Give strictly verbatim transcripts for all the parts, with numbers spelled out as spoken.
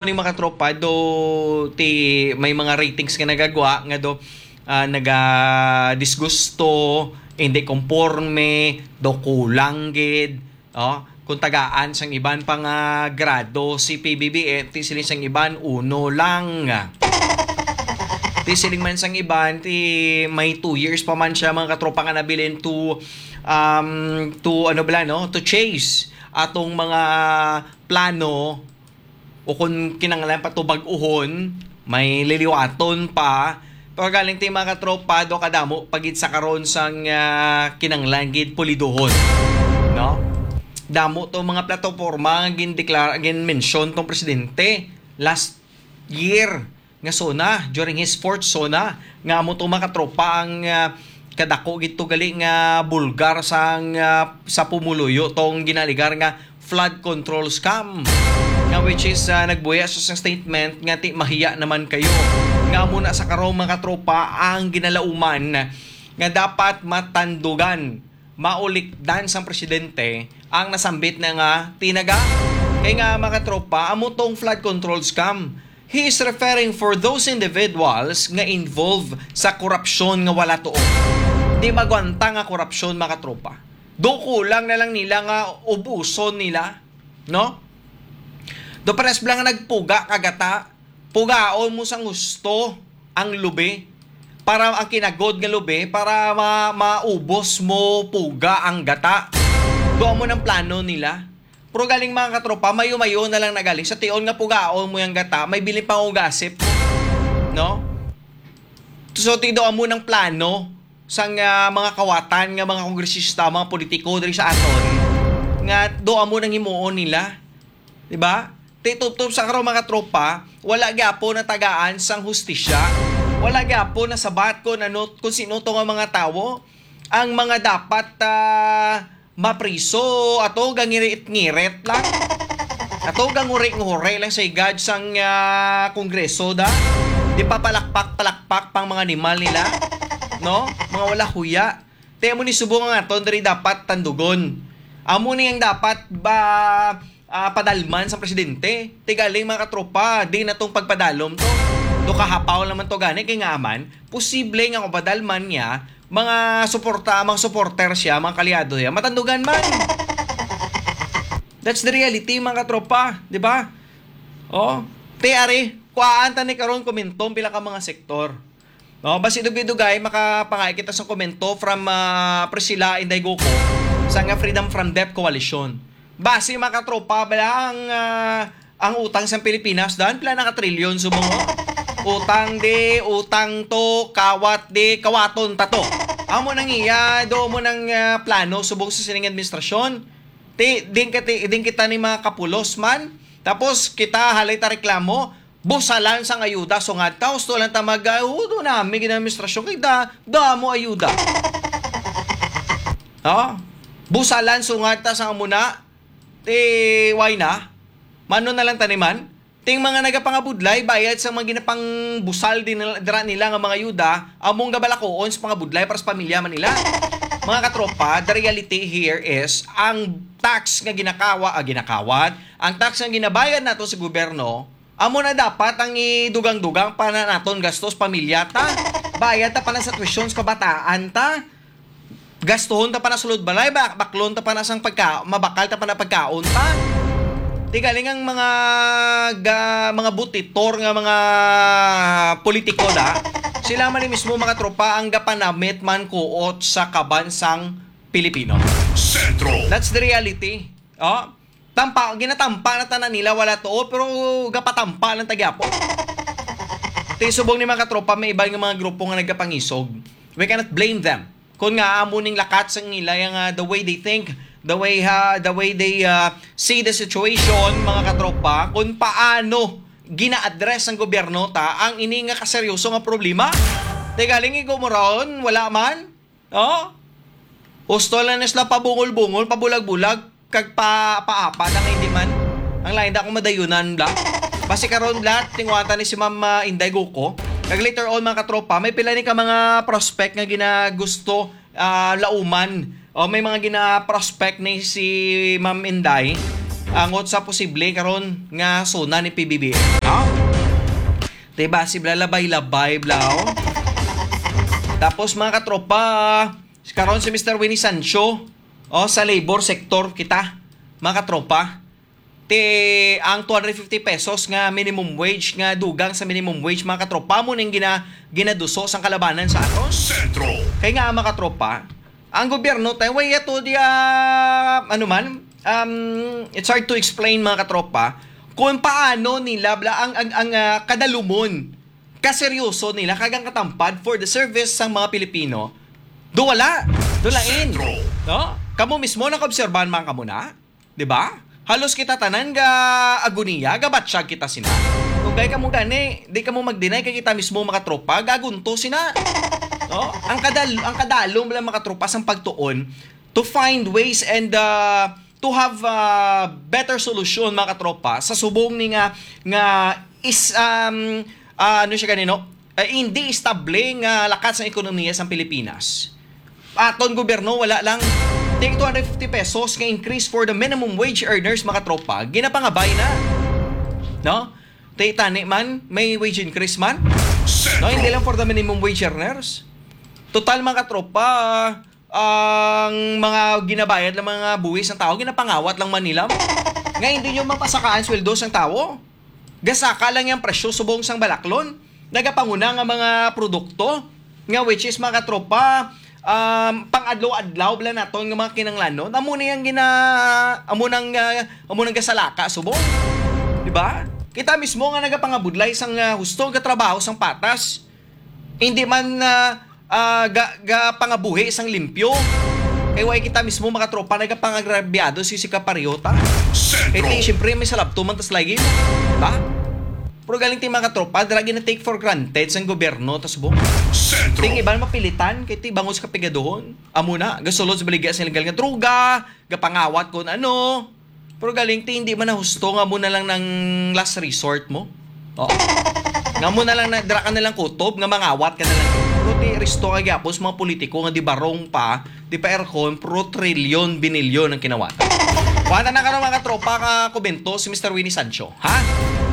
ni mga tropa, do ti may mga ratings nga nagagwa nga do, ah, nagadisgusto, hindi konporme, do kulang gid, oh, kung tagaan sang iban pa nga grado si P B B M, ti siling sang iban, uno lang. Ti siling man sang iban, ti may two years pa man siya, mga katropa, nga nabilin to, um, to, ano bala, no? To chase atong mga plano o kung kinahanglan pa to bag-uhon, may liliwaton pa. Pero galing ti mga katropa, do kadamo pa gid sa karon sang, ah, kinahanglan gid pulidohon, no? Damo to mga plataporma nga gindeklara, ginmention tong presidente last year nga SONA, during his fourth SONA, nga amo to mga katropa ang, ah, kadako gid to gali nga bulgar sang, ah, sa pumuluyo tong ginaligar nga flood control scam, nga which is, ah, nagbuya sa, sa statement nga ti mahiya naman kayo. Nga amo na sa karong mga katropa ang ginalauman nga dapat matandugan, maulikdan sang presidente ang nasambit na nga tinaga. Kay nga, mga katropa, amo tong flood control scam. He is referring for those individuals nga involved sa korupsyon nga wala tuo. Di magwanta nga korupsyon, mga katropa. Do kulang na lang nila nga ubuson nila, no? Do pares bala nga nagpuga ka gata, pugaon mo sang husto ang lubi, para ang kinagod nga lubi, para ma-, maubos mo puga ang gata. Do amo nang plano nila. Pero galing, mga katropa, mayo-mayo na lang na galing. Sa tion nga pugaon mo yung gata, may bilin pang ugasip. No? So, ti do amo nang plano sang, ah, mga kawatan nga mga kongresista, mga politiko diri sa aton, nga do amo nang himuon nila. Di ba? Ti tubtob sa karon, mga tropa, wala gyapon natagaan sang hustisya. Wala gyapon nasabat kung ano, kung sino to nga mga tawo ang mga dapat, ah, mapriso. Ato gangirit-ngirit lang. Ato ganguri-nguri lang sa higad sang, ah, Kongreso da. Di pa palakpak-palakpak pang mga animal nila. No? Mga wala huya. Ti amo ni subong ang aton diri dapat tandugon. Amo ni ang dapat ba, ah, padalman sa presidente. Ti galing, mga katropa, di na tong pagpadalom to. Do kahapaw naman to gani, kay nga man, posible nga kung padalman niya, mga suporta, mga supporter siya, mga kaliado niya, matandugan man. That's the reality, mga katropa, di ba? Oh, ti ari, kuhaan ta ni karon komentong pila ka mga sektor. No, basi dugay-dugay, makapangay kita sa komento from, ah, Priscilla Inday Guco sa nga Freedom from Debt Coalition. Basi, mga katropa, bala ang, ah, ang utang sa Pilipinas, dan pila na ka trilyon subong, oh. Utang di, utang to, kawat di, kawaton ta to. Amo nang iya, do mo nang, ah, plano subong sa sining administrasyon. Ti, din, kati, din kita ni mga kapulos man. Tapos kita halay ta reklamo, busalan sang ayuda, sungad ta, husto lang ta mag, ah, hudo nami gid ang administrasyon kay da, damo ayuda. Oh? Busalan, sungad ta sang amo na, ti, why na? Mano na lang taniman? Ting mga nagapangabudlay, bayad sa mga ginapangbusal din nila, dira nila nga mga ayuda, among gabalakoon sa pangabudlay para sa pamilya man nila. Mga katropa, the reality here is ang tax nga ginakawa, ah, ginakawat, ang tax nga ginabayad nato sa gobyerno, amo na dapat ang idugang-dugang pa na naton gastos pamilya ta. Bayad ta pa na sa tuition sa kabataan ta. Gastuhon ta pa na sulod balay, ba-, baklon ta pa na sang pagka-, mabakal ta pa na pagkaon ta. Ti galing ang mga ga-, mga butitor nga mga politiko da. Sila man ni mismo, mga tropa, ang gapanamit man kuot sa kaban sang Pilipino. Sentro. That's the reality. Oh, tampa, ginatampa na tanan nila, wala tuo, pero gapatampa lang ta gyapon. Ti subong ni, mga katropa, may iban nga mga grupo nga nagapangisog. We cannot blame them. Kung nga amo ning lakat sang nila, yung, ah, the way they think, the way, ha, the way they, ah, see the situation, mga katropa, kung paano gina-address ng gobyerno ta ang ini nga kaseryoso nga problema. Ti galing igo mo ron, wala man. Oh? Husto lang na sila pabungol-bungol, pabulag-bulag, kag pa, paapa na nga hindi man. Ang lain da akong madayunan, bla. Basi karon, bla, tinguhan ta ni si Ma'am, ah, Inday Guko. Kag later on, mga katropa, may pila ni ka mga prospect nga ginagusto, ah, lauman. O may mga gina-prospect ni si Ma'am Inday. Angot sa posible karon nga SONA ni P B B M, no? Diba, si bla labay-labay, bla, oh. Tapos, mga katropa, karon si Mister Winnie Sancho, oh, sa labor sector kita, mga katropa. Ti ang two hundred fifty pesos nga minimum wage, nga dugang sa minimum wage, mga katropa, mo ning gina-, ginaduso sang kalabanan sa aton. Sentro. Kay nga, mga katropa, ang gobyerno, tay, way ato di, ah, ano man, um, it's hard to explain, mga katropa, kung paano nila bla-, ang, ang, ang, ah, kadalumon, kaseryoso nila, kag ang katampad for the service sang mga Pilipino, do wala, do lain. Sentro. No? Kamo mismo nakaobserbahan man kamo na, di ba? Halos kita tanan ga agoniya, gabatsyag kita sina. Kung kay kamo gani, di kamo mag-deny kay kita mismo, mga tropa, gagunto sina. No? Ang kadal-, ang kadalom lang, mga tropa, sang pagtuon to find ways and, uh, to have a better solution, mga katropa, sa subong ni nga, nga is, um, ah, ano siya ganino? Eh, hindi estable nga lakat sang ekonomiya sang Pilipinas. Aton gobyerno, wala lang. Take two hundred fifty pesos nga increase for the minimum wage earners, mga tropa, ginapangabay na. No? Tay, tani man, may wage increase man. No, hindi lang for the minimum wage earners. Total, mga tropa, ang mga ginabayad lang, mga buhis ng tao, ginapangawat lang man nila. Nga hindi nyo mapasakaan sweldo sang tao. Gasaka lang yung presyo subong sang balaklon. Nagapanguna nga mga produkto, nga which is, mga tropa, um, pang-adlaw-adlaw bala naton nga mga kinanglanon. Amo ni ang gina-, amo nang, ah, amo nang gasalaka subong. Di ba? Kita mismo nga nagapangabudlay sang, ah, husto nga trabaho sang patas. Hindi man, ah, ah, ga-, gapangabuhi sang limpyo. Kay way kita mismo, mga tropa, nagapangagrabyado si, si Kapareho ta. Sentro. Kay ti, siyempre, may salabto man tas lagi. Di ba? Pero galing ti, mga tropa, dira gina-take for granted sang gobyerno, tas bo. Sentro. Ting iban mapilitan, kay ti bangos kapigaduhon. Amo na, gasulod sa baligya sa illegal nga droga, gapangawat kon ano. Pero galing ti, hindi man na husto nga mo na lang ng last resort mo. Oh. Nga mo na lang na, dira ka na lang kutob, nga mangawat ka na lang. Pero ti, risto ka gyapon sa mga politiko nga di barong pa, di pa aircon, pero trilyon, binilyon ang kinawatan. Kuha na karon, mga tropa, ka komento si Mister Winnie Sancho. Ha?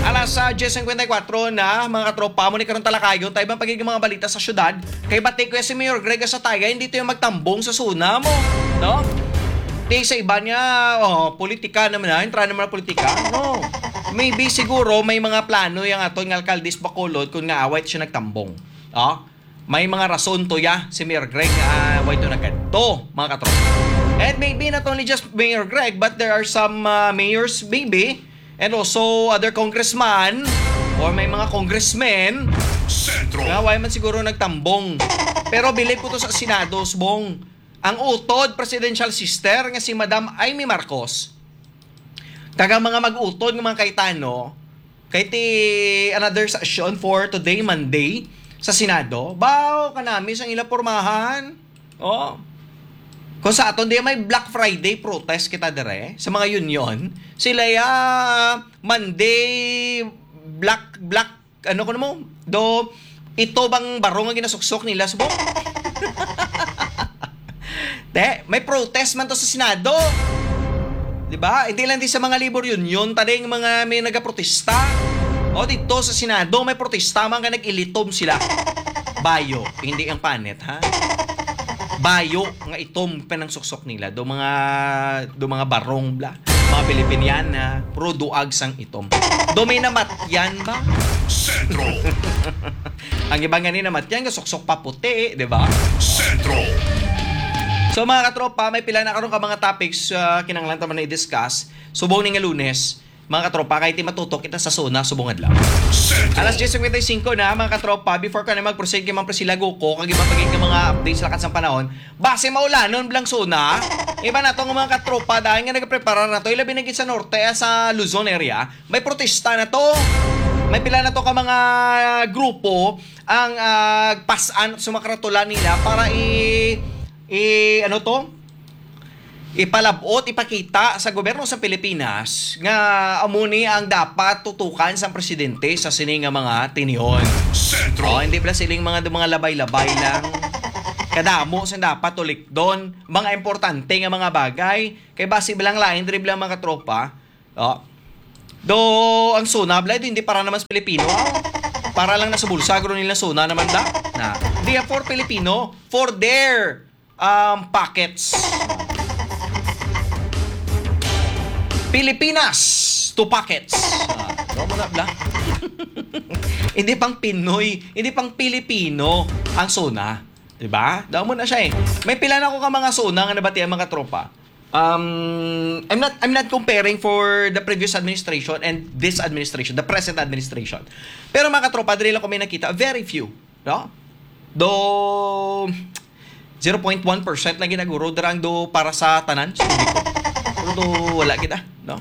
Alas, ah, diyes cincuenta y cuatro na, mga katropa, mo ni karon talakayon, tayo bang pagiging mga balita sa syudad? Kay bati ko si Mayor Greg sa Taya, hindi to yung magtambong sa suna mo. No? Di sa iba niya, oh, politika naman na, entra naman ang politika. No. Maybe siguro may mga plano yung aton nga alkalde sa Bacolod kung nga away siya nagtambong. Oh? May mga rason to ya si Mayor Greg, ah, why to nagkadto, mga katropa. And maybe not only just Mayor Greg, but there are some, ah, mayors maybe, and also other congressman or may mga congressmen Sentro. Nga why man siguro nagtambong. Pero bilib ko to sa Senado, subong. Ang utod presidential sister nga si Madam Imee Marcos, kag ang mga mag-utod nga mga Cayetano, kay ti another session for today, Monday, sa Senado. Baw, kanami sang ila pormahan. Oh. Kung sa aton, di may Black Friday protest kita dire, sa mga union. Sila ya, Monday, Black, Black, ano ko mo? Do, ito bang barong nga ginasuksok nila subong? Te, may protest man to sa Senado. Di ba? Hindi lang di sa mga labor union, taling mga may nagaprotesta. O, dito sa Senado, may protesta man nga nag-ilitom sila. Bayo, hindi ang panit, ha? Bayo nga itom panangsuksok nila. Do mga, do mga barong, bla. Mga Pilipiniana, puro duag sang itom. Do may namatyan ba? Sentro. Ang iba nga ni namatyan, nga suksok pa puti, di ba? Sentro. So, mga katropa, may pila na karon ka mga topics, ah, kinahanglan ta man na i-discuss. Subong ni nga Lunes, mga katropa, kay ti matutok kita sa suna subong adlaw. Sentro. Alas diyes cincuenta y cinco na, mga katropa. Before ka na mag-proceed kay Ma'am Priscilla Guko, kag iba pa gid nga mga updates lakat sang panahon, base maulanon blang suna. Iba na to nga mga katropa, dahil nga nagapreparar na to, ilabi na gid sa norte, ah, sa Luzon area, may protesta na to. May pila na to ka mga grupo ang, ah, pasan sa mga karatula nila para i-, i-, ano to? Ipalabot, ipakita sa gobyerno sa Pilipinas nga amo ni ang dapat tutukan sang presidente sa sini nga mga tinihon. Sentro. Oh, hindi pala siling mga, mga labay-labay lang. Kadamo sing dapat tulikdon, mga importante nga mga bagay. Kay basi bilang lain, diri bilang mga tropa, Oh. Do ang SONA, bala, hindi para naman sa Pilipino. Para lang na sa bulsa, guro nila SONA naman da. Na, they are for Filipino, for their um, pockets. Pilipinas to pockets. Ah, wala mo na, bla. Hindi pang Pinoy, hindi pang Pilipino ang SONA. Diba? Damo na siya eh. May pila na ko ka mga SONA nga nabatian, mga tropa. Um, I'm not I'm not comparing for the previous administration and this administration, the present administration. Pero, mga tropa, diri lang ko may nakita, very few, no? Do zero point one percent lang ginaguro dirang do para sa tanan sa publiko. Pero do wala kita, no?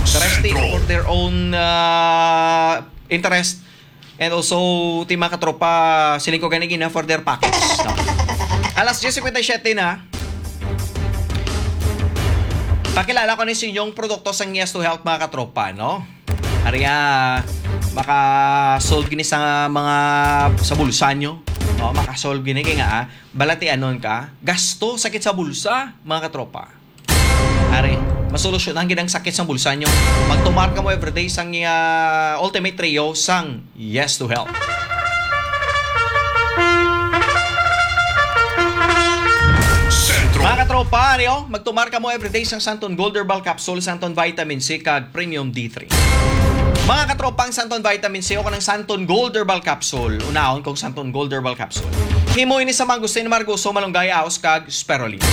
The rest, eh, for their own uh, interest. And also, ti, mga katropa, siling ko gani gina for their pockets, no? Alas diyes cincuenta y siete na. Pakilala ko ni sa inyong produkto sang Yes to Health, mga katropa, no? Ari, ah, maka-solve gini sa mga, sa bulsa nyo. No? Maka-solve gini kay nga, ah, balatianon ka, gasto, sakit sa bulsa, mga katropa. Ari, masolusyonan gid ang sakit sang bulsa nyo. Magtumar kamo everyday sang, ah, Ultimate Trio sang Yes to Health. Mga katropa, ari, oh, magtumar kamo everyday sang Santon Gold Herbal Capsule, Santon Vitamin C, kag Premium D three. Mga katropa, ang Santon Vitamin C o kanang Santon Gold Herbal Capsule, unahon kong Santon Gold Herbal Capsule. Himo ini sa mangustin, margoso, malunggay, aos, kag spirulina.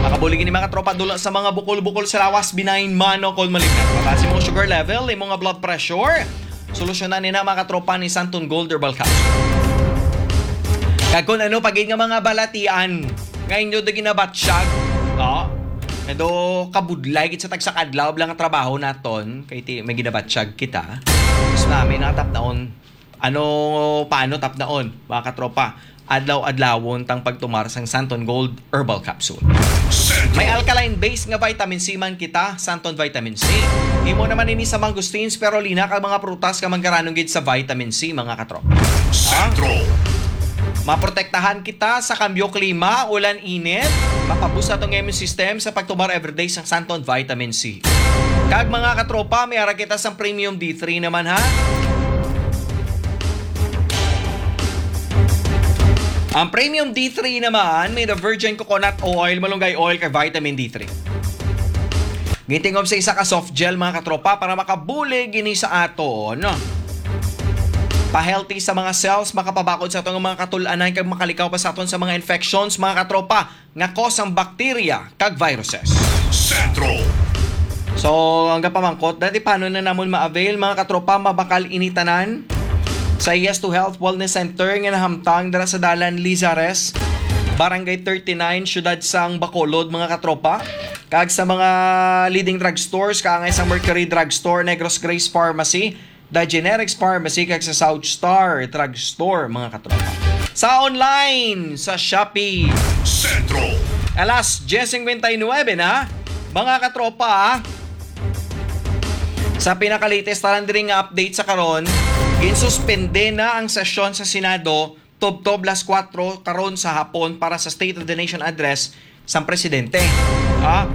Makabulig ini, mga tropa, dula sa mga bukol-bukol sa lawas, benign man o kon malignant. Mataas imong sugar level, imong nga blood pressure, solusyonan ni na, mga tropa, ni Santon Gold Herbal Capsule. Kag kung ano pa gid nga mga balatian nga inyo do ginabatsyag, no? Medyo kabudlay gid sa tagsa ka adlaw lang nga trabaho naton, kay ti may ginabatsyag kita. Mas namin nakatapnaon. Ano, paano tapnaon, mga katropa? Adlaw-adlawon tang pagtumar sang Santon Gold Herbal Capsule. May alkaline base nga vitamin C man kita, Santon Vitamin C. Imo naman ini sa mangosteen, spirulina, kag mga prutas nga manggaranong gid sa vitamin C, mga katropa. Sentro. Maprotektahan kita sa kambyo klima, ulan, init. Mapabus atong immune system sa pagtumar everyday sang Santon Vitamin C. Kag, mga katropa, may ara kita sang Premium D three naman, ha? Ang Premium D three naman, may the virgin coconut oil, malunggay oil, kag vitamin D three. Gintingog sa isa ka soft gel, mga katropa, para makabulig ini sa aton. Pa-healthy sa mga cells, makapabakod sa aton nga mga katul-anan, kag makalikaw pa sa aton sa mga infections, mga katropa, nga cause ang bacteria kag viruses. Sentro. So, ang gapamangkot, dati paano na namon ma-avail, mga katropa, mabakal ini tanan sa Yes to Health Wellness Center nga nahamtang dira sa Dalan Lizares, Barangay thirty-nine, siyudad sang Bacolod, mga katropa. Kag sa mga leading drugstores, kaangay sa Mercury Drugstore, Negros Grace Pharmacy, The Generics Pharmacy, kag sa South Star Drugstore, mga katropa. Sa online, sa Shopee. Sentro. Alas diyes cincuenta y nueve na, mga katropa, ah. Sa pinakalatest tanan diri nga update sa karon, ginsuspende na ang sesyon sa Senado tubtob las kuwatro karon sa hapon para sa State of the Nation Address sang presidente. Ah,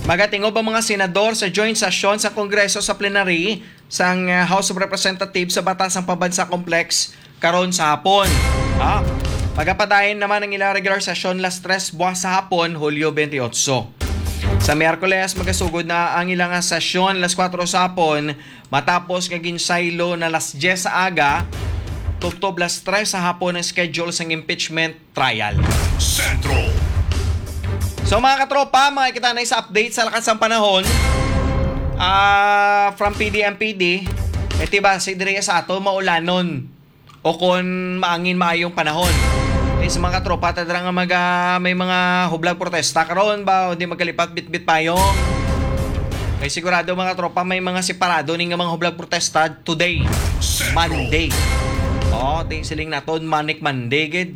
magatingob ang mga senador sa joint session sa Kongreso sa plenary sang, ah, House of Representatives sa Batas sang Pambansa Complex karon sa hapon. Ah, magapadayon naman ang ilang regular session las tres buwas sa hapon, Hulyo twenty-eight. Sa Miyerkules, magasugod na ang ilang sesyon las kuwatro sa hapon, matapos nga ginsaylo na las diyes sa aga, tubtob las tres sa hapon ang schedule sang impeachment trial. Sentro. So, mga katropa, makikita na sa update sa lakas sang panahon, ah, from P D M P D, eh, ti base diri sa ato, maulanon o kon maangin maayong panahon. Eh, sa mga katropa, ta dira nga maga-, may mga hublag protesta karon ba, o di magkalipat bitbit payong? Kay sigurado, mga tropa, may mga separado ni nga mga hublag protesta today, Sentro. Monday. Oh, ti siling naton, Manic Monday gid.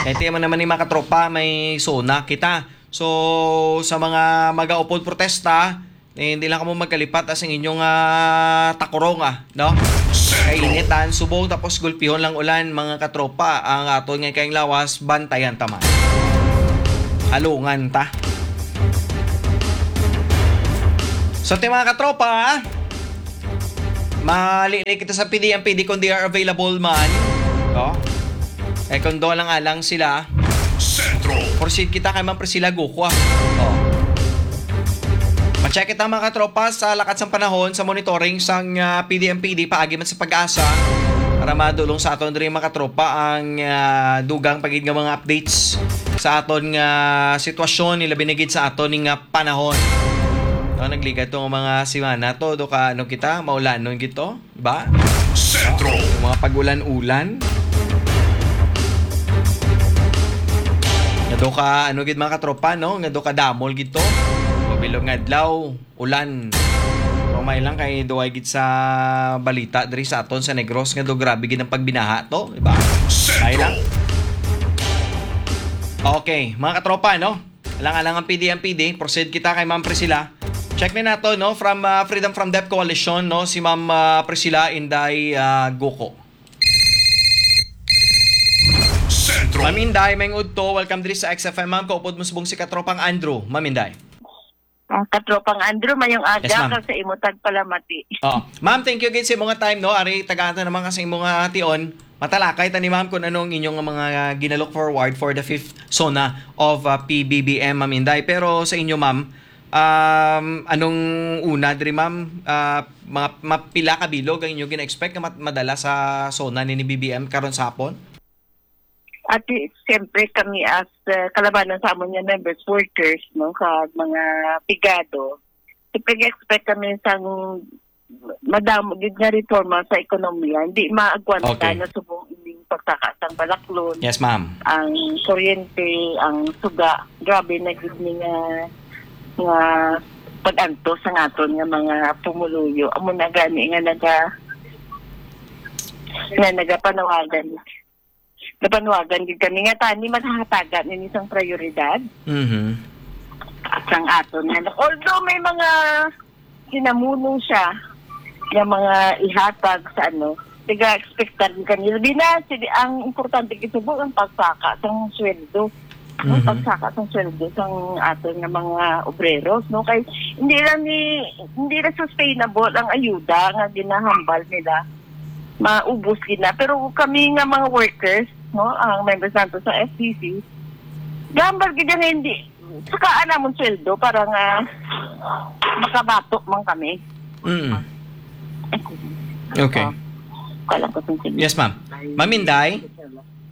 Kay ti man naman ni, mga katropa, may SONA kita. So, sa mga magaupod protesta, eh, hindi lang kamo magkalipat, ah, sing inyong, ah, takurong, ah, no? Sentro. Kay initan, subong, tapos gulpihon lang ulan, mga katropa, ang aton nga kayang lawas, bantayan ta man. Halungan ta. So, ti mga katropa, mali na kita sa P D M P D kung they are available man. No? Eh, kung doon lang alang sila, Sentro. Proceed kita kay Ma'am Priscilla Gukwa. Oh. Ma-check kita, mga katropa, sa lakat sang panahon sa monitoring sang, ah, P D M P D paagi man sa Pag-asa para madulong sa aton diri, mga katropa, ang, ah, dugang pa gid nga mga updates sa aton nga sitwasyon, ilabi na gid sa aton nga panahon. No, nagligad tong mga semana to, do ka ano kita, maulanon gid to, di ba? Sentro. Yung mga pag-ulan-ulan. Nga do ka, ano gid, mga katropa, no? Nga do ka damol gid to. Mabilog nga adlaw, ulan. Umay lang kay duay gid sa balita diri sa aton sa Negros nga do grabe gid ang pagbinaha to, di ba? Sentro. Ay lang. Okay, mga katropa, no? Alang-alang ang P D M P D, proceed kita kay Ma'am Priscilla. Check na nato, no, from, ah, Freedom from Debt Coalition, no, si Ma'am, ah, Priscilla Inday, ah, Guko. Sentro. Ma'am Inday, may udto, welcome diri sa X F M, ma'am. Kaupod mo subong si Katropang Andrew, Ma'am Inday. Ang Katropang Andrew, mayong aga. Yes, ma'am. Ka sa imo tagpalamati. Oh, ma'am, thank you again sa imo nga time, no. Ari tagaan ta naman ka sa imo nga tion. Matalakay ta ni ma'am kung anong inyong mga ginalook forward for the fifth SONA of, uh, P B B M, Ma'am Inday. Pero sa inyo, ma'am, um, anong una diri, ma'am? Uh, mga, mapila ka bilog ang inyo gina-expect nga mat-, madala sa SONA ni, ni B B M karon sa hapon? At i-, siyempre kami as, uh, kalabanan sa amon nga members, workers, no, kag mga pigado, siyempre nag-expect kami sang madamo gid nga reforma sa ekonomiya. Hindi maagwanta Okay. na subong ining pagsaka sang balaklon. Yes, ma'am. Ang kuryente, ang suga, grabe na gid ni nga, nga pag-antos sang aton nga mga pumuluyo. Amo na gani nga naga-, nga nagapanawagan. Napanwagan gid kami nga tani maghahatagan ini sang prioridad Mhm. sang aton nga, although may mga hinamuno siya nga mga ihatag sa ano, taga-expectar gid kami. Labi na, sige, ang importante gid subong ang pagsaka sang sweldo. Ang Mhm. pagsaka sang sweldo sang aton nga mga obreros, no? Kay hindi lang ni, hindi na sustainable ang ayuda nga ginahambal nila. Maubos gid na. Pero kami nga mga workers, no, ang members nato sa F T C, gambal gid nga hindi sakaan namon sweldo para nga makabato man kami. Mm. Okay. Oh, kalang ko sa sige. Yes, ma'am. Ma'am Inday?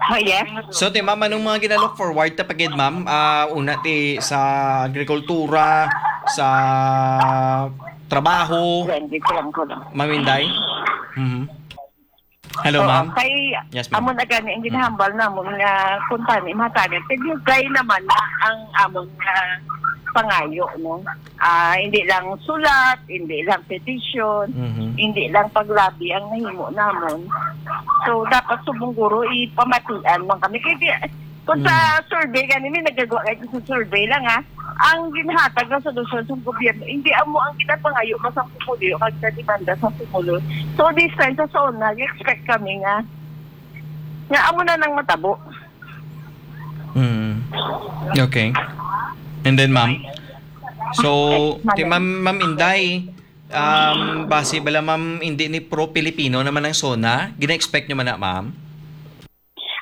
Oh, yes. So, ti, ma'am, anong mga ginalook forward ta pa gid, ma'am? Ah, una ti sa agrikultura, sa trabaho. Yan, dito lang ko lang. Ma'am Inday? Mhm. Hello, Oo, ma'am. Kay Yes, ma'am. amo na gani ang ginahambal namon nga kung tani, matani. Kay dugay naman na ang amon nga pangayo, no? Ah, hindi lang sulat, hindi lang petition, Mhm. hindi lang paglabi ang nahimo namon. So, dapat subong guro ipamatian man kami. Kay di, kung sa Mm. survey, gani may nagagawa kayo sa survey lang, ha? Ang ginhatag nga solusyon sa gobyerno, hindi amo ang ginapangayo mo sa pumulo kag sa demanda sa pumulo. So, this time, sa SONA, nag-expect kami nga, nga amo na nang matabo. Mm. Okay. And then, ma'am? So, Ay, ti, ma'am, Ma'am Inday, um, base bala, ma'am, hindi ni pro-Pilipino naman ang SONA? Gina-expect nyo man na, ma'am?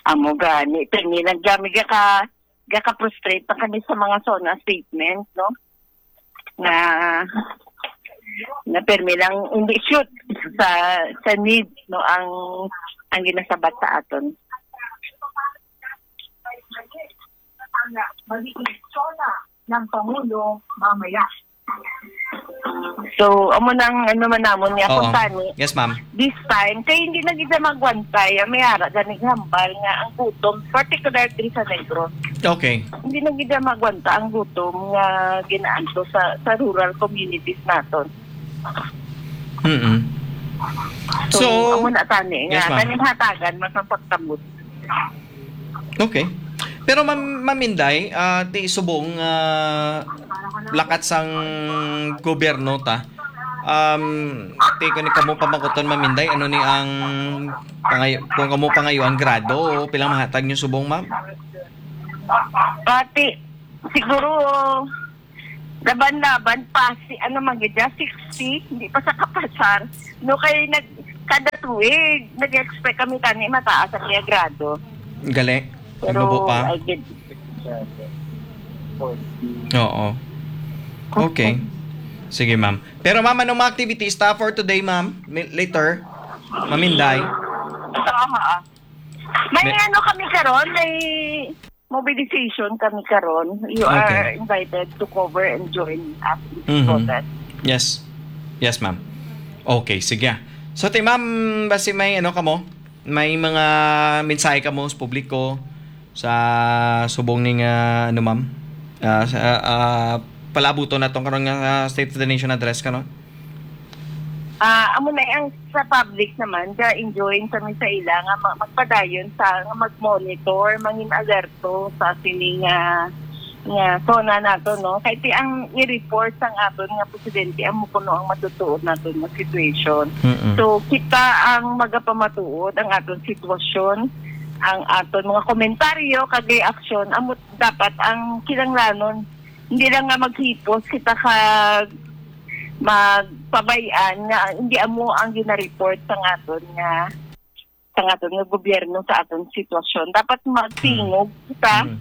Amo gani, pirmi lang kami gaka-, gaka-frustrate na kami sa mga SONA statement, no? Nga, nga pirmi lang, hindi shoot sa, sa need, no, ang, ang ginasabat sa aton. Ng Pangulo mamaya. So, amo nang ano man namon nga Oo. kung tani, Yes, ma'am. this time, kay hindi na gid magwantay, ang may ara ganing hambal nga ang gutom, particular diri sa Negros. Okay. Hindi na gid magwanta ang gutom nga ginaanto sa, sa rural communities naton. Mm-mm. So, So, amo na tani nga, Yes, ma'am. kaning hatagan, mas ang pagtambot. Okay. Pero, Ma'am, Ma'am Inday, ah, ti subong, ah, lakat sang gobyerno ta. Um, ti ko ni kamo pamakuton, Ma'am Inday, ano ni ang pangay-, kung kamo pangayo ang grado o pilang mahatag niyo subong, ma'am? Pati, siguro, Laban-laban, pasi, ano man gid, sixty, hindi pa sa kapasar. No, kay nag, kada tuig, nag-expect kami tani mataas ang iya grado. Gali. Pero, Nagnubo pa. I did. Oo. Okay. Sige, ma'am. Pero, ma'am, anong mga activities ta for today, ma'am? Mi- Later? Maminday? Aha. May May- ano kami karon, may mobilization kami karon. You Okay. are invited to cover and join us in this Mhm. protest. Yes. Yes, ma'am. Okay, sige. So, ti, ma'am, basi may ano kamo? May mga mensahe kamo sa publiko sa subong ning, ah, ano, ma'am? Ah, sa, ah, palabuton naton karon nga, ah, State of the Nation Address karon? Ah, amo na ang sa public naman, ga-enjoin kami sa ila nga ma- magpadayon sa nga mag-monitor, mangin alerto sa sini nga nga zona nato, no? Kay ti ang i-report sang aton nga presidente amo kuno ang matutuod naton nga situation. Mm-mm. So kita ang magapamatuod ang aton sitwasyon, ang aton mga komentaryo kag reaksyon amo dapat ang kinahanglanon. Hindi lang nga maghipos kita ka magpabay-an nga hindi amo ang gina-report sa aton nga sa aton nga gobyerno sa aton sitwasyon. Dapat magtingog kita Mm.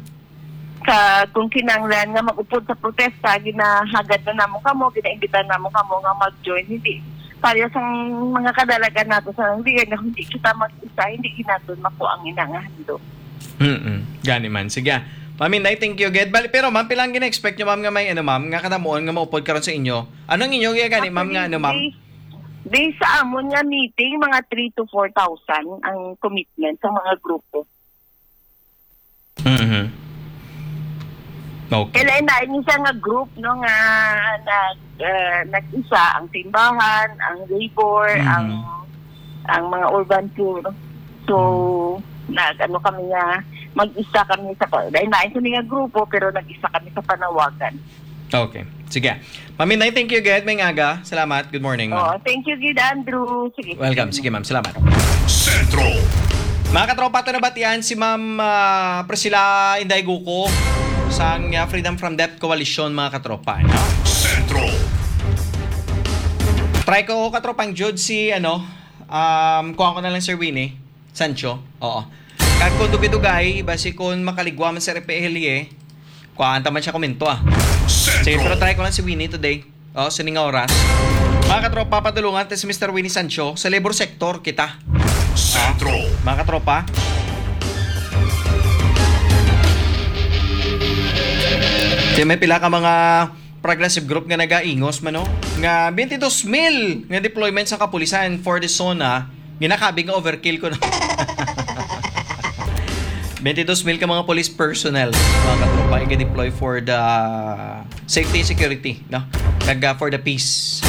ka kung kinahanglan nga mag-upod sa protesta, ginahagad na namo kamo, ginaimbitan namo kamo nga mag-join. Hindi pareho sang mga kadalagan nato sa hindi nga hindi kita mag-isa, hindi ginaton makuha ang ina nga handog. Mm-mm. Gani man. Sige. Ma'am Inday, thank you, gid. Bali, pero ma'am, pila ang gina-expect nyo, ma'am, nga may ano, ma'am, nga kadamuon nga maupod karon sa inyo? Anong inyo gani, ma'am, nga ano, ma'am? Based, based sa amon nga meeting, mga three to four thousand ang commitment sa mga grupo. Mhm. Okay. Kailan na isa nga group, no, nga nag ah, nag-isa ang simbahan, ang labor, Mhm. ang ang mga urban poor. So, nag ano kami nga mag-isa kami sa pa- dahil na kami nga grupo pero nag-isa kami sa panawagan. Okay. Sige. Ma'am Inday, thank you, gid. May aga. Salamat. Good morning, Oh, ma'am. Thank you gid, Andrew. Sige. Welcome. Sige, ma'am. Salamat. Sentro. Mga katropa, ito nabatian si Ma'am ah, Priscilla Inday Guco sang ah, Freedom from Debt Coalition, mga katropa. No? Sentro. Try ko, katropang Jude, si ano, um, kuha ko na lang, Sir Winnie Sancho. Oo. Kag kung dugay-dugay, basi kung makaligwa man sa R P L E, kuhaan ta man siya komento, ah. Sige, pero Sentro. Try ko lang si Winnie today. Oh, sining nga oras. Mga katropa, padulungan ta si Mister Winnie Sancho sa labor sector kita. Sentro. Mga katropa. Di may pila ka mga progressive group nga nagaingos man, no? Nga twenty-two mil nga deployment sa kapulisan for the SONA, ginakabig nga overkill ko na. Twenty-two mil ka mga police personnel, mga katropa, i-deploy for the safety and security, no? Kag uh, for the peace,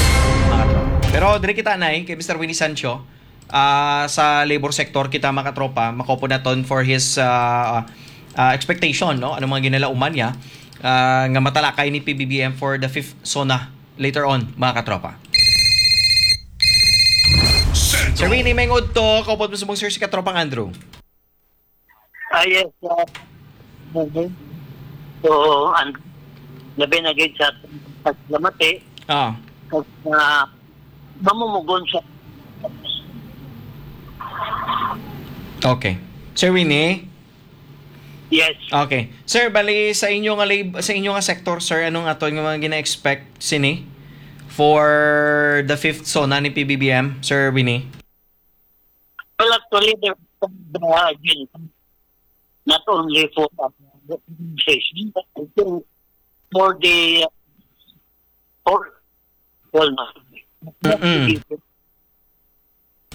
mga katropa. Pero diri kita na kay Mister Winnie Sancho, ah, sa labor sector kita, mga katropa, makupod naton for his ah, ah, expectation, no? Anong mga ginalauman niya ah, nga matalakay ni P B B M for the fifth SONA later on, mga katropa. Sir Sentro. Winnie, may ngudto, kaupod mo subong, sir, si katropang Andrew. Ah, yes, sir. Okay. So, ang labi na gid sa paglamati, Ah, uh, mamumugon siya. okay. Sir Winnie? Yes. Okay. Sir, bali sa inyo nga lab- sa inyo nga sector, sir, anong aton nga mga gina-expect sini for the fifth SONA ni P B B M, Sir Winnie? Well, actually, there the again, not only for the organization, but I think for the for well, Mm-mm.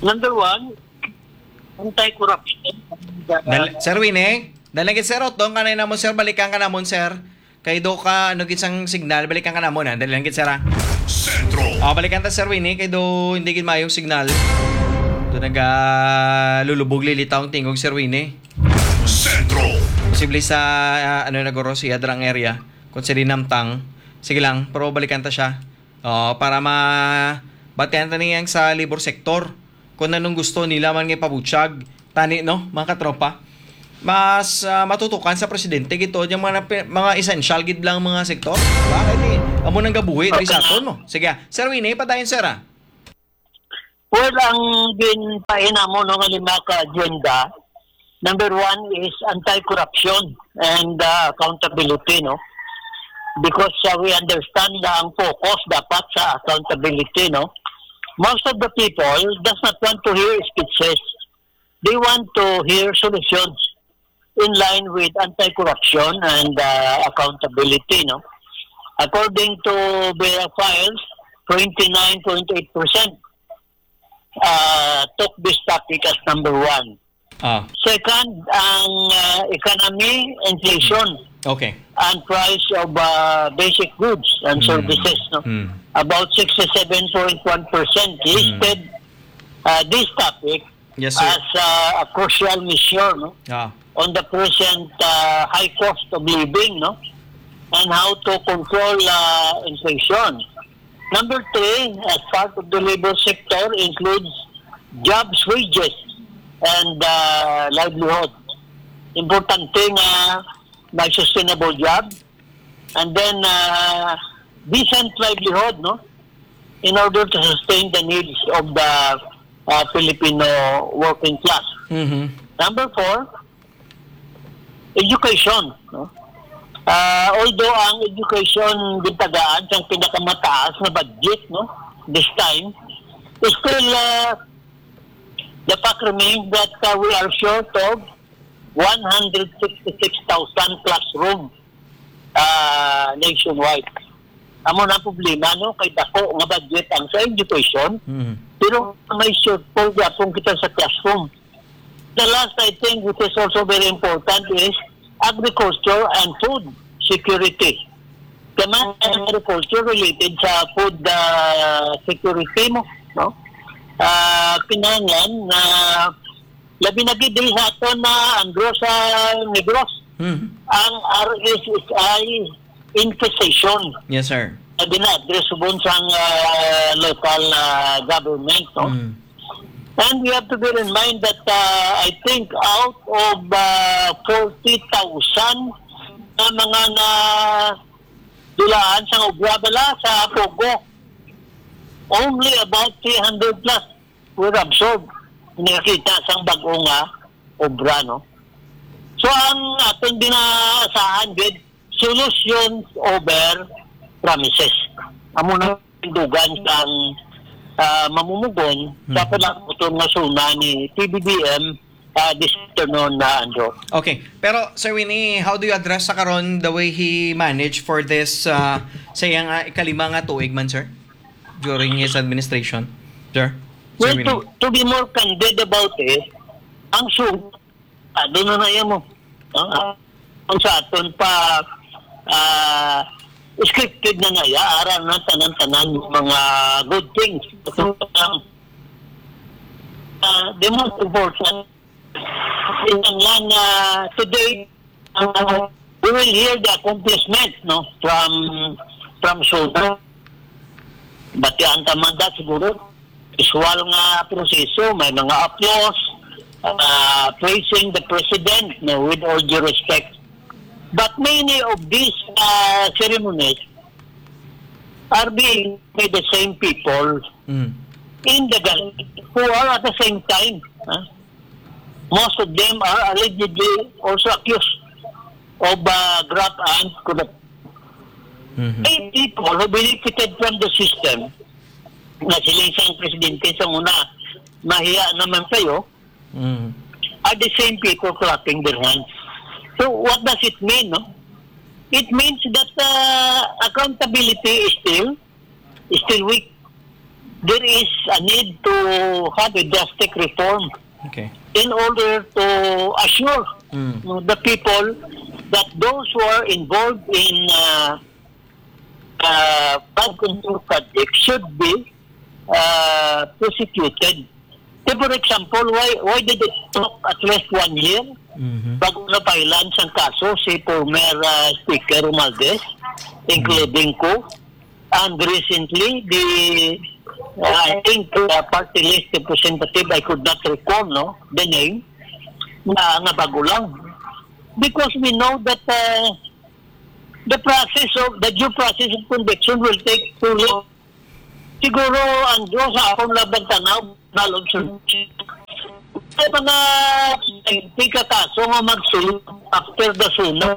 Number one, anti-corruption. Dal- sir Winnie, dali gid, sir, utdon ka na namon, sir, balikan ka namon, sir. Kay do ka, ano gid sang signal, balikan ka namon, ha? Dali lang gid, sir, ha? Sentro. Ah, balikan ta, Sir Winnie, kay do hindi gid maayong signal. Do naga lulubog lilitaw ang tingog, Sir Winnie. Sentro. Posible sa, ah, ano na guro, si Adrang area. Kung sa dinamtang, sige lang, pero balikan ta siya. Oo, para ma batian ta niyang sa labor sector. Kung anong gusto nila man nga ipabutyag. Tani, no, mga katropa? mas, ah, matutukan sa presidente gid to, yung mga napi-, mga essential gid lang mga sektor, di ba? Kay di, amo nang gabuhi diri sa aton mo. Sige, Sir Winnie, padayon, sir, ah. Well, ang ginpahinamo, no, nga lima ka agenda, number one is anti-corruption and, uh, accountability, no? Because, uh, we understand na ang focus dapat sa accountability, no? Most of the people does not want to hear speeches. They want to hear solutions in line with anti-corruption and, uh, accountability, no? According to Vera Files, twenty-nine point eight percent, uh, took this topic as number one. Ah. Second, ang, uh, economy, inflation, Okay. and price of, uh, basic goods and Mm. services, no? Mm. About sixty-seven point one percent Mm. listed, uh, this topic Yes, sir. as, uh, a crucial measure, no? Ah. On the present, uh, high cost of living, no? And how to control, uh, inflation. Number three, as part of the labor sector, includes jobs, wages, and, uh, livelihood. Importante nga may sustainable job, and then, uh, decent livelihood, no? In order to sustain the needs of the, uh, Filipino working class. Mhm. Number four, education, no? Ah, although ang education gintagaan sang pinakamataas nga budget, no, this time, still, uh, the fact remains that, uh, we are short of one hundred sixty-six thousand classroom, uh, nationwide. Amo na ang problema, no, kay dako nga budget ang sa education, Mhm. pero may shortfall gyapon kita sa classroom. The last, I think, which is also very important, is agriculture and food security. Kaya man, ang agriculture related sa food, ah, security mo, no? Ah, kinahanglan na labi na gid diri sa aton na ang gross sa Negros, Hmm. ang R S S I infestation Yes, sir. na gina-address subon sang, ah, local, ah, government, no? Hmm. And we have to bear in mind that, uh, I think out of, uh, forty thousand na mga nadulaan sang obra bala sa Pogo, only about three hundred plus were absorbed. Nakita sang bag-o nga obra, no? So, ang aton ginaasahan gid, solutions over promises. Amo na ang dugan sang, ah, mamumugon sa Hmm. palabuton nga SONA ni P B B M, ah, this afternoon na, Andrew. Okay. Pero, Sir Winnie, how do you address sa karon the way he managed for this, ah, sa iyang, ah, ikalima nga tuig man, sir? During his administration, sir? Sir Well, to, Winnie? to be more candid about it, ang SONA, ah, doon na na yan mo. Ah, ang sa aton pa, ah, scripted na na ya, ara na tanan-tanan yung mga good things. So, um, ah, the most important, kinahanglan na today, ah, we will hear the accomplishment, no, from, from SONA. Batian ta man da siguro, usual nga proseso, may mga applause, ah, praising the president, no, with all due respect. But many of these, ah, ceremonies are being by the same people Mm. in the government who are at the same time, ah, most of them are allegedly also accused of, ah, graft and corruption. Mhm. May people who benefited from the system, nga sila isang presidente sa una, mahiya naman sa'yo, Mm. are the same people clapping their hands. So, what does it mean, no? It means that, uh, accountability is still, is still weak. There is a need to have a drastic reform Okay. in order to assure, Mm. no, the people that those who are involved in, uh, uh, flood control projects should be, uh, prosecuted. So, for example, why, why did it took at least one year Mhm. bago na-file-an sang kaso si former, uh, Speaker Romualdez, including ko? And recently, the, uh, I think, uh, party list representative, I could not recall, no, the name, na, nga bago lang. because we know that, uh, the process of, the due process of conviction will take too long. Siguro, Andrew, sa akong labang tanaw, nalog sa mga twenty ka kaso nga magsulod after the SONA,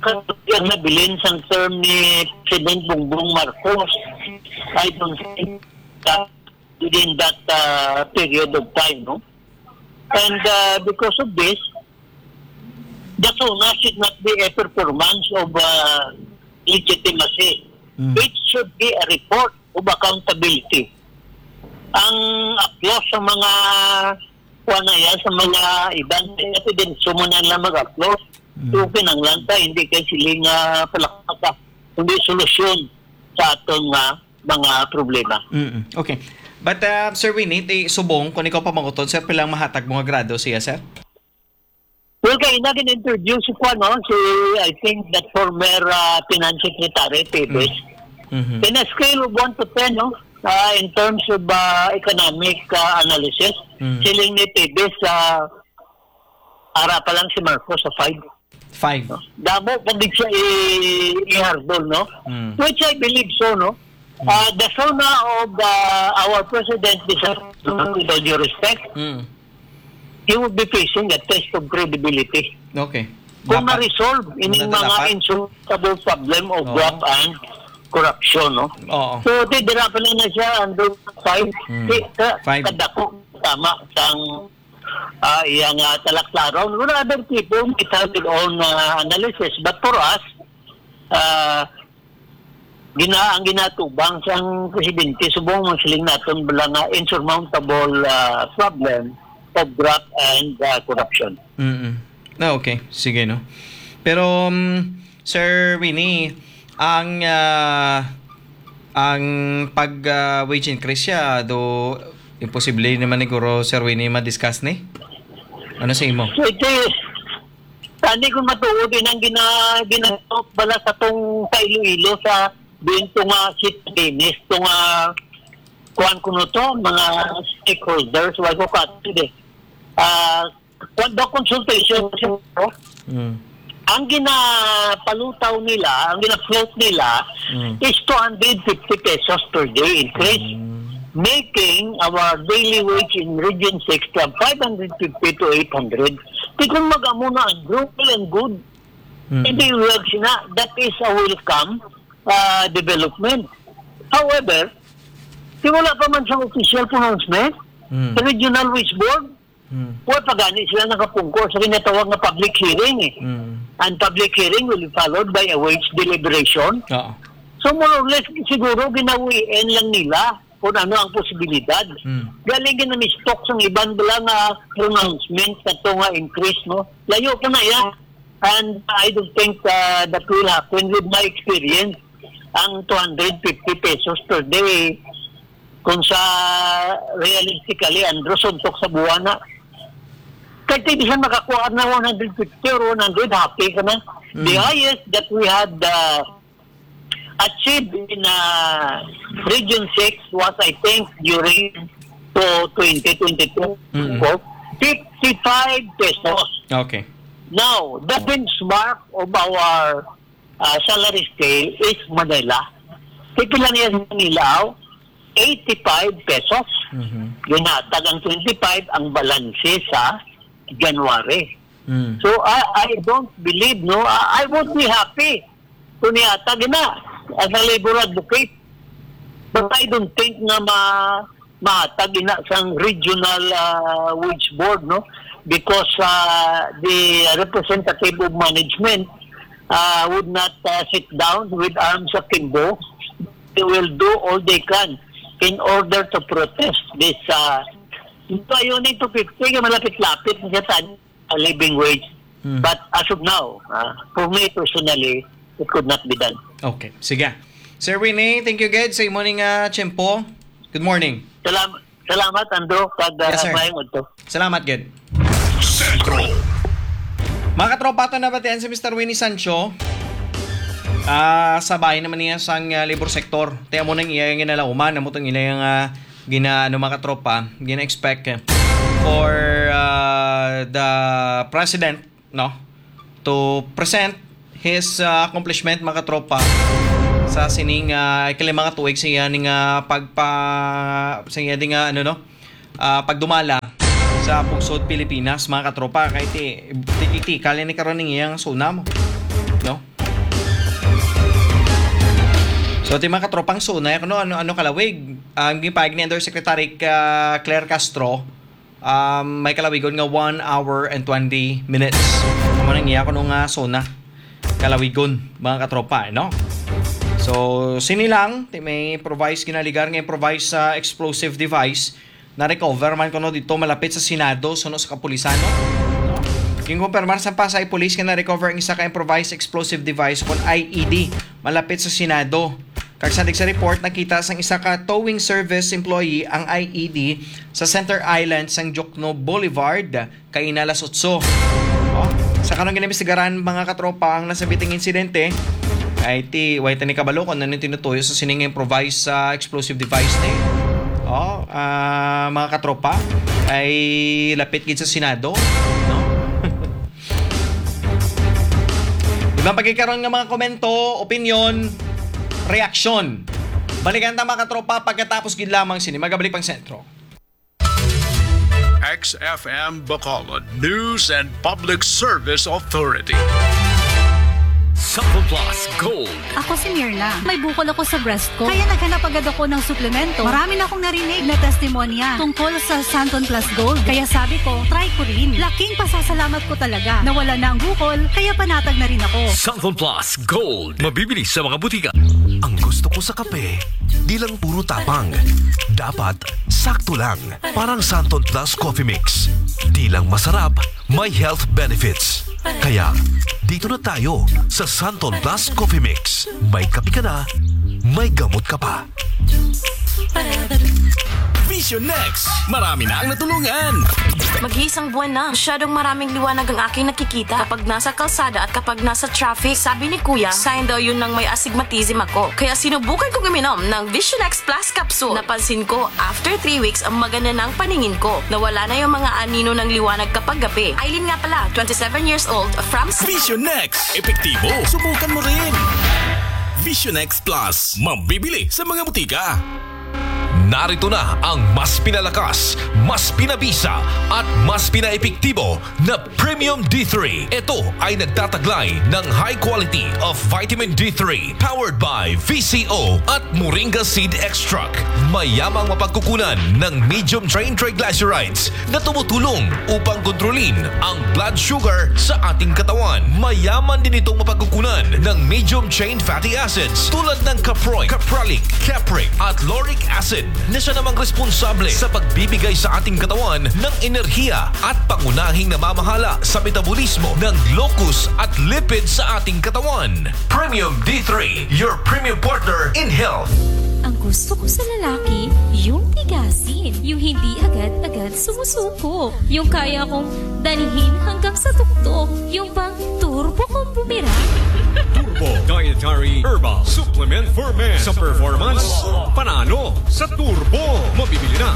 kag nabilin sang term ni President Bongbong Marcos. I don't think that within that, uh, period of time, no? And, uh, because of this, the SONA should not be a performance of, uh, legitimacy. Mm. It should be a report of accountability. Ang aplos sa mga, kuwan na yan, sa mga iban, evidence, sumo na lang mag-aplos. Mm. So, kinanglan ta, hindi kay sila nga palakpakan, kundi solusyon sa aton nga mga problema. Mm, okay. But, uh, Sir Winnie, ti subong, kung ikaw pa mangutod, sir, pilang mahatag mo nga grado siya, sir? Well, kay na gin-interview si Kwan, no? Si, I think, that former, uh, finance secretary, Tevez. Mm. Mm-hmm. In a scale of one to ten, no? Uh, in terms of, uh, economic, uh, analysis, Mm. siling ni Tevez, uh, ara pa lang si Marcos sa five. Five. Damo pa gid siya i-, i-hurdle, no? Mm. Which I believe so, no? Mm. Uh, the SONA of, uh, our president, this, with all due respect, Mm. he would be facing a test of credibility. Okay. Kung Dapat. na-resolve ining Maganda mga dapat. insurmountable problem of Oo. graft and corruption, no? Oo. So, di, dira pa lang na siya, under five. Mm. Di, ka, Five. kadako, tama, sang, ah, iya nga talaklaron. Well, other people might have their own, ah, analysis. But for us, ah, gina-, ang ginatubang sang presidente, subong ang siling naton bala nga insurmountable, ah, problem of graft and, ah, corruption. Mm-mm. Ah, okay. Sige, no? Pero, um, Sir Winnie, ang, ah, ang pag, ah, wage increase siya, do, imposible naman ni guro, Sir Winnie, ma-discuss ni? Ano sa imo? So, ito, tani kung matuod, yun ang gina-, ginatok bala sa tong sa Iloilo, sa binto nga si Dennis, to nga, kuwan ko no to, mga stakeholders, wala ko katid eh. Ah, kuwan daw consultation, Mm. ang ginapalutaw nila, ang gina-float nila Mm. is two hundred fifty pesos per day increase, Mm. making our daily wage in Region six from five hundred fifty to eight hundred. Di kung mag-amo na, Andrew, well and good. Mm. Hindi, well, sina, that is a welcome, ah, development. However, di wala pa man siyang official pronouncement Mm. sa Regional Wage Board. Hmm. Wa pa gani sila nakapungko sa ginatawag nga public hearing, eh. Hmm. And public hearing will be followed by a wage deliberation. Oo. So, more or less, siguro ginawian lang nila kung ano ang posibilidad. Hmm. Galing ginamistok sa iban bala nga pronouncement sa to nga increase, no? Layo pa na iya. And I don't think, uh, that will happen with my experience. Ang two hundred fifty pesos per day, kung sa realistically, Andrew, suntok sa buwan na. Kay ti bisan makakuha na one hundred fifty or one hundred, happy ka na. The Mm. highest that we had, uh, achieved in, uh, Region six was, I think, during to twenty twenty-two, Mm. fifty-five pesos. Okay. Now, the benchmark of our, uh, salary scale is Manila. Kay pila niya sa Manila, oh? Eighty-five pesos. Mhm. Ginhatag ang twenty-five, ang balanse sa January. Mm. So, I, I don't believe, no? I, I would be happy kung nihatag na as a labor advocate. But I don't think na ma-, mahatag ina sang regional, ah, wage board, no? Because, ah, the representative of management, ah, would not, ah, sit down with arms akimbo. They will do all they can in order to protest this, ah, ito, yun, two fifty, nga malapit-lapit na siya sa living wage. Hmm. But as of now, ah, for me personally, it could not be done. Okay. Sige. Sir Winnie, thank you, gid, sa imo ning, ah, tiyempo. Good morning. Salam-, salamat, Andrew, kag, ah, Yes, sir. Maayong udto. Salamat, gid. Sentro. Mga katropa, ato nabatian si Mister Winnie Sancho. Ah, sa bahin naman niya sang, ah, labor sector. Ti amo nang iya nga ginalauman, amo tong iya nga gina-, ano, mga katropa, gina-expect for, ah, the president no, to present his, ah, accomplishment, mga katropa, sa sining, ah, ikalima nga tuig sa iya ning, ah, pagpa-, sa iya ding, ah, ano, no, ah, pagdumala sa Pugsod Pilipinas, mga katropa. Kay ti, ti, ti, kali ni karon ning iyang SONA mo, no? So, ti, mga katropang SONA, ano, ano, ano kalawig? Ang gipahayag ni Undersecretary, ah, Claire Castro, um, may kalawigon nga one hour and twenty minutes. Amo nang iya kuno nga SONA kalawigon, mga katropa, no? So, sini lang, ti may improvised, ginaligar nga improvised sa explosive device, na-recover man kuno dito malapit sa Senado, suno sa kapulisan, no? Ginkumpirmar sa Pasay Police nga na-recover ang isa ka improvised explosive device kon I E D malapit sa Senado. Kag sa report, nakita sang isa ka towing service employee ang I E D sa Center Island sang Jokno Boulevard, kaina alas otso. Oh, sa karon ginaimbestigaran, mga katropa, ang nasabiting insidente. Ay ti, way tani kabalo kung ano tinutuyo sa sining improvised sa explosive device ni. Oh, ah, mga katropa, ay lapit gid sa Senado, no? Ibang pagkikaron nga mga komento, opinion, reaksyon. Balikan ta, mga katropa, pagkatapos gid lamang sini. Magabalik pang sentro. X F M Bacolod News and Public Service Authority. Sample Plus Gold. Ako si Mirna. May bukol ako sa breast ko. Kaya naghanap agad ako ng suplemento. Marami na akong narinig na testimonya tungkol sa Santon Plus Gold. Kaya sabi ko, try ko rin. Laking pasasalamat ko talaga. Nawala na ang bukol, kaya panatag na rin ako. Santon Plus Gold. Mabibili sa mga butika. Ang gusto ko sa kape, di lang puro tapang. Dapat sakto lang. Parang Santon Plus Coffee Mix. Di lang masarap, may health benefits. Kaya, dito na tayo sa Santon Plus Coffee Mix. May kape ka na, may gamot ka pa. Vision Next, marami na ang natulungan. Mag-iisang buwan na. Masyadong maraming liwanag ang aking nakikita kapag nasa kalsada at kapag nasa traffic. Sabi ni Kuya, sign daw yun ng may astigmatism ako. Kaya sinubukan kong uminom ng Vision X Plus Capsule. Napansin ko, after three weeks, ang maganda na ang paningin ko. Nawala na yung mga anino ng liwanag kapag gabi. Eileen nga pala, twenty-seven years old, from Cebu. Vision X, epektibo. Subukan mo rin. Vision X Plus, mabibili sa mga butika. Narito na ang mas pinalakas, mas pinabisa, at mas pinaepektibo na Premium D three. Ito ay nagtataglay ng high quality of vitamin D three, powered by V C O at Moringa Seed Extract. Mayamang mapagkukunan ng medium chain triglycerides na tumutulong upang kontrolin ang blood sugar sa ating katawan. Mayaman din itong mapagkukunan ng medium chain fatty acids tulad ng caproic, capralic, capric, at lauric acid na siya namang responsable sa pagbibigay sa ating katawan ng enerhiya at pangunahing namamahala sa metabolismo ng glucose at lipid sa ating katawan. Premium D three, your premium partner in health. Ang gusto ko sa lalaki, yung tigasin. Yung hindi agad-agad sumusuko. Yung kaya kong dalhin hanggang sa tuktok. Yung bang turbo kong bumirang. Turbo Dietary Herbal Supplement for Men. Sa performance, panalo. Sa Turbo, mabibili na